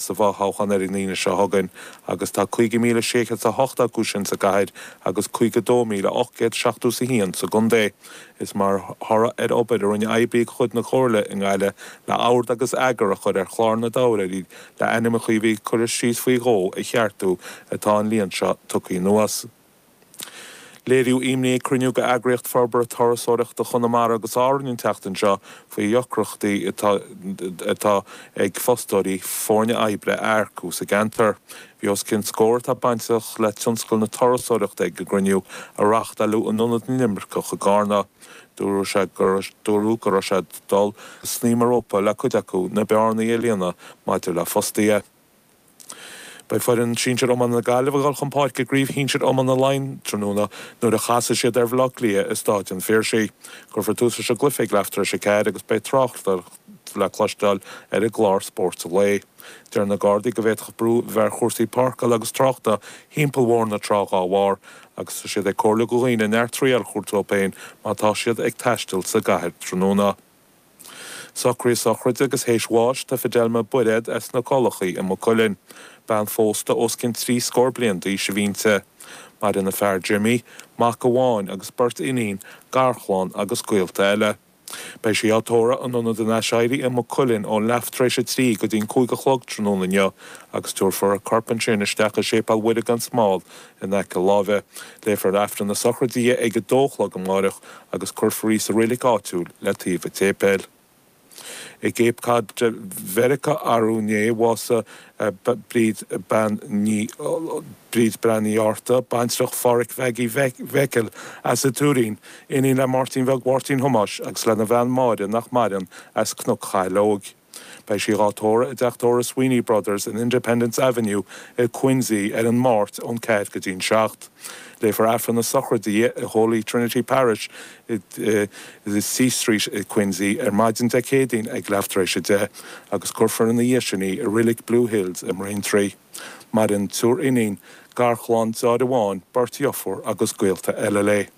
Sa bhfothoghchán ar an Aoine seo chugainn agus tá 50,608 acu sin sa gcathair agus 52,871 sa gcontae. Is mar thoradh ar obair a rinne oibrí de chuid na Comhairle i nGaillimh le ord agus eagar a chur ar chlár na dtoghthóirí le ainmneacha a bhí curtha síos faoi dhó a cheartú atá an líon seo tugtha anuas. Léiríodh imní ag cruinniú de Eagraíocht Forbartha Turasóireachta Chonamara agus Árainn an tseachtain seo faoi dheacrachtaí atá ag fostóirí foirne oibre a earcú sa gceantar. Bhí os cionn scór atá bainteach le tionscal na turasóireachta ag an gcruinniú, a reáchtáileadh in Ionad na nImirceach i gCarna. Dúradh sé dúradh go raibh sé ag dul snaidhm an rópa le cuid acu na bearnaí a líonadh maidir le fostaithe. Beidh foireann sinsir iomána na Gaillimhe ag dul chun páirce i gCraobh Shinsir Iomána Laighean tráthnóna nuair a chasfaidh siad ar Bhaile Átha Cliath i Stáid an Phiarsaigh. Cuirfear tús leis an gcluiche ag leath tar éis 4 agus beidh tráchtaireacht le cloisteáil ar an gclár Spórt an Lae. Deir na Gardaí go bhféadfadh brú a bheith ar chúrsaí páirceála agus tráchta thimpeall Bhóthar na Trá dhá bharr agus tá siad ag comhairliú do dhaoine neart triall a thabhairt dóibh féin má tá siad ag taisteal sa gcathair tráthnóna. Socruithe sochraide agus théis bháis do Fidelma Bairéad as na Collachaí i Maigh Cuilinn. Bean phósta os cionn trí scór bliain d'aois a bhí inti. Maireann a fear Jimmy, mac amháin agus beirt iníon, garchlann agus gaolta eile. Beidh sí á tórramh in Ionad an Aiséirí i Maigh Cuilinn ón leath tar éis a 3 go dtí'n 5 a chlog tráthnóna inniu agus tabharfar a corp ansin isteach i Séipéal Mhuire gan Smál in aice láimhe. Léifear Aifreann na sochraide di ag a dó a chlog amáireach agus cuirfear í sa reilig áitiúil le taobh an tséipéil. I gCape Cod Mheiriceá arú inné bhásaigh Bríd Bean Ní Bríd Bean Ní Fhátharta, baintreach Phádhraic Mhaggie Mhicil as an Tuairín, iníon le Máirtín Bheag Mháirtín Thomáis agus lena bhean Máire nach maireann as Cnoc Chaileoig. Beidh sí dhá tórramh i dteach tórraimh Sweeney Brothers in Independence Avenue i Quincy ar an Máirt ón 4 go dtí'n 7. Léifear Aifreann na sochraide di i Holy Trinity Parish i C Street i Quincy ar maidin Dé Céadaoin ag leath tar éis 10 agus cuirfear ina dhiaidh sin í i Reilig Blue Hills i mBraintree. Maireann triúr iníon, garchlann, deartháir amháin, beirt dheirfiúr agus gaolta eile léi.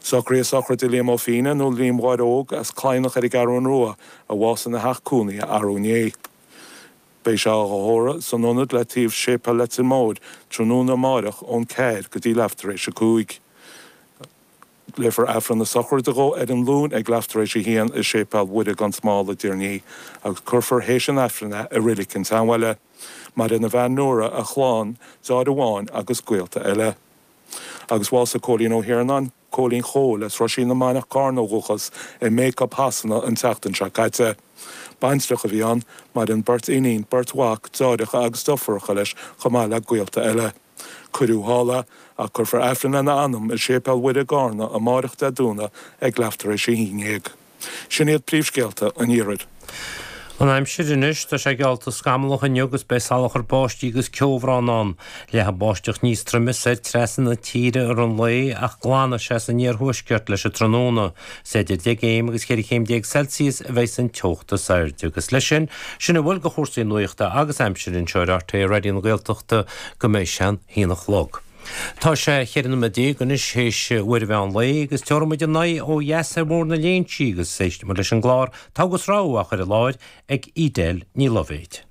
Socruithe sochraide Liam Ó Fianna, nó Liam Mháire Óg, as Cladhnach ar an gCeathrú Rua, a bhásaigh ina theach cónaithe arú inné. Beidh sé á thórramh san ionad le taobh Séipéal Leitir Móir tráthnóna amáireach ón 4 go dtí leath tar éis 5. Léifear Aifreann na sochraide dhó ar an Luan ag leath tar éis 1 i Séipéal Mhuire gan Smál i dTír an Fhia agus cuirfear théis an Aifrinn é i Reilig an tSeanbhaile. Maireann a bhean Nóra, a chlann, deartháir amháin agus gaolta eile. Agus bhásaigh Cóilín Ó hIarnáin, Cóilín Chóil, as Roisín na Manach, Carna ó dhúchas, i mBacup Shasana an tseachtain seo caite. Baintreach a bhí ann, maireann beirt iníon, beirt mhac, deartháireacha agus deirfiúracha leis chomh maith le gaolta eile. Cuireadh thall é, ach cuirfear Aifreann lena anam i Séipéal Mhuire i gCarna amáireach Dé Domhnaigh ag leath tar éis a haon dhéag. Sin iad príomhscéalta an iarthair. An aimsir anois, tá sé geallta scamallach inniu agus beidh salachar báistí agus ceobhrán ann. Leathfaidh báisteach níos troime soir trasna na tíre i rith an lae ach glanfaidh sé san iarthuaisceart leis an tráthnóna. Is idir 10 gcéim agus 14 chéim Celsius a bheidh an teocht is airde. Agus leis sin, sin a bhfuil de chúrsaí nuachta agus aimsire anseo ar RTÉ Raidió na Gaeltachta go mbeidh sé an haon a chlog. Tá sé 14 noiméad anois théis uair an mheán lae agus tabharfaidh muid ár n-aghaidh ó dheas ar Bhóthar na Léinsí agus éistfidh muid leis an gclár Togha is Rogha á chur i láthair ag Edel Ní Loibhéid.